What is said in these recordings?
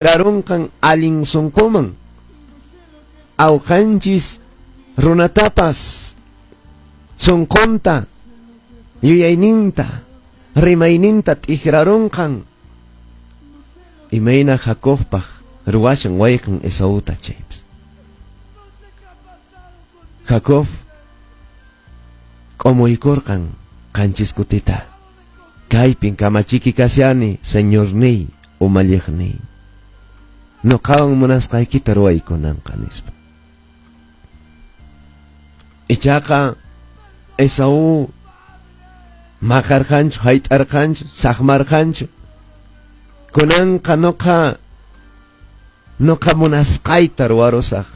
T'ikrarunqan allin sunquman awqanchis runatapas sunqunta yuyayninta rimayninta t'ikrarunqan imayna Jacobpaq ruwashan wayqin Esauta chaypas. Jacob k'umuykurqan qanchis kutita kaypin kamachiki kashani Señorniy umalliqniy nuqawan munasqaykita ruwaykunanqa nispa. Ichaqa Esaú maqarqanchu hayt'arqanchu saqmarqanchu kunanqa nuqa munasqayta ruwarusaq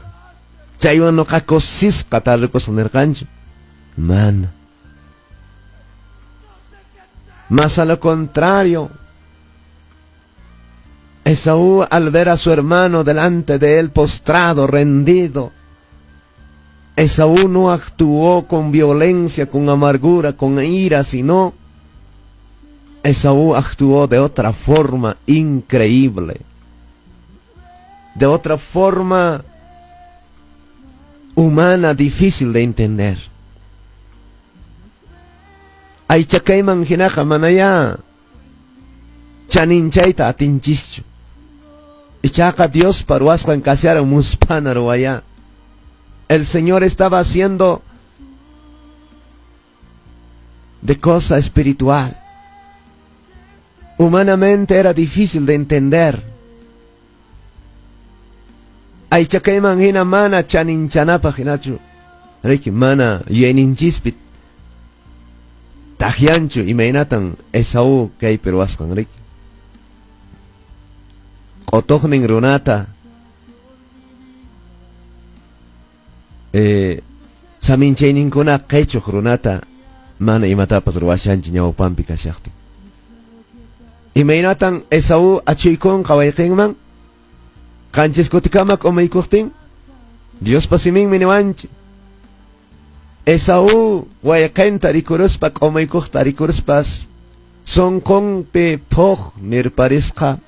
chaywan nuqa kusisqa tarikusaq nirqanchu mana. Más a lo contrario, Esaú, al ver a su hermano delante de él postrado, rendido, Esaú no actuó con violencia, con amargura, con ira, sino Esaú actuó de otra forma increíble, de otra forma humana difícil de entender. Aychakayman hinaqa manaya chaninchayta atinchischu. Ichaqa Diospa ruwasqan kasharan musphana ruwaya. El Señor estaba haciendo de cosa espiritual. Humanamente era difícil de entender. Aychakayman hina mana chaninchanapaq hinachu. Riki mana yuyayninchispi takyanchu imaynatan Esaú kaypi ruwasqan riki. Q'utuqnin runata saminchayninkuna qichuq runata mana imatapas ruwashanchu ñawpanpi kashaqtin. Imaynatan Esaú achuykunqa wayqinman qanchis kutikama k'umuykuqtin Diospa siminmi niwanchik. Esaú wayqinta rikuruspa k'umuykuqta rikuruspas sunqunpi phuq nirparisqa.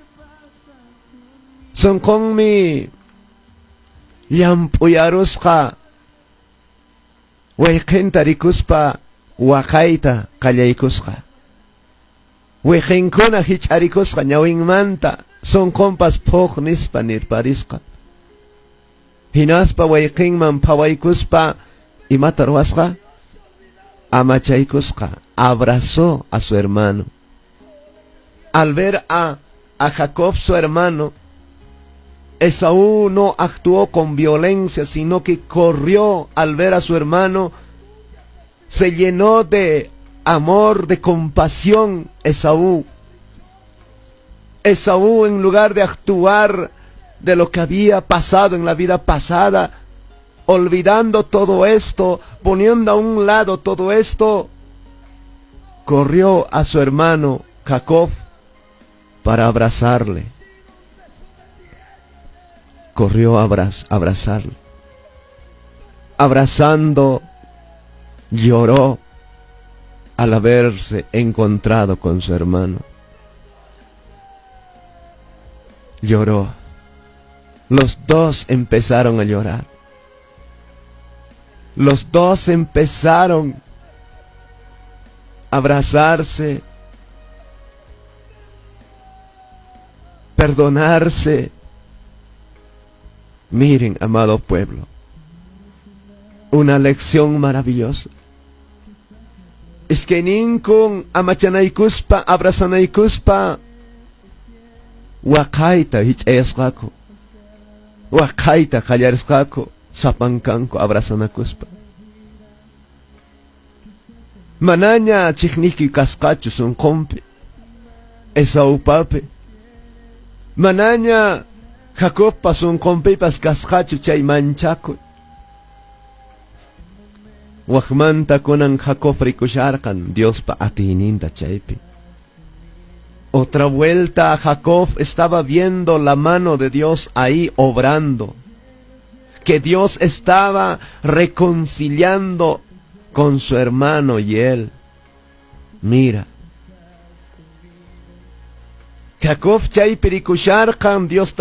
Sunqunmi llamp'uyarusqa wayqinta rikuspa waqayta qallaykusqa. Wayqinkuna hich'arikusqa ñawinmanta sunqunpas phuq nispa nirparisqa. Hinaspa wayqinman phawaykuspa imata ruwasqa amachaykusqa, abrazó a su hermano. Al ver a Jacob su hermano, Esaú no actuó con violencia, sino que corrió al ver a su hermano, se llenó de amor, de compasión Esaú. Esaú, en lugar de actuar de lo que había pasado en la vida pasada, olvidando todo esto, poniendo a un lado todo esto, corrió a su hermano Jacob para abrazarle. Corrió a abrazarle. Abrazando, lloró al haberse encontrado con su hermano. Lloró. Los dos empezaron a llorar. Los dos empezaron a abrazarse, perdonarse. Miren, amado pueblo, una lección maravillosa. Es que ninkun amachanaykuspa, abrazanaykuspa, waqayta hich'ayasqaku, waqayta qallarisqaku, sapankanku abrazanakuspa. Manaña chiqniki kasqachu sunqunpi, Esaupapi. Manaña Jacobpa sunqunpipas kasqachu chay manchakuy. Waqmanta kunan Jacob rikusharqan Diospa atiyninta chaypi. Otra vuelta Jacob estaba viendo la mano de Dios ahí obrando, que Dios estaba reconciliando con su hermano y él. Mira, Jacob chaypi rikusharqan Dios.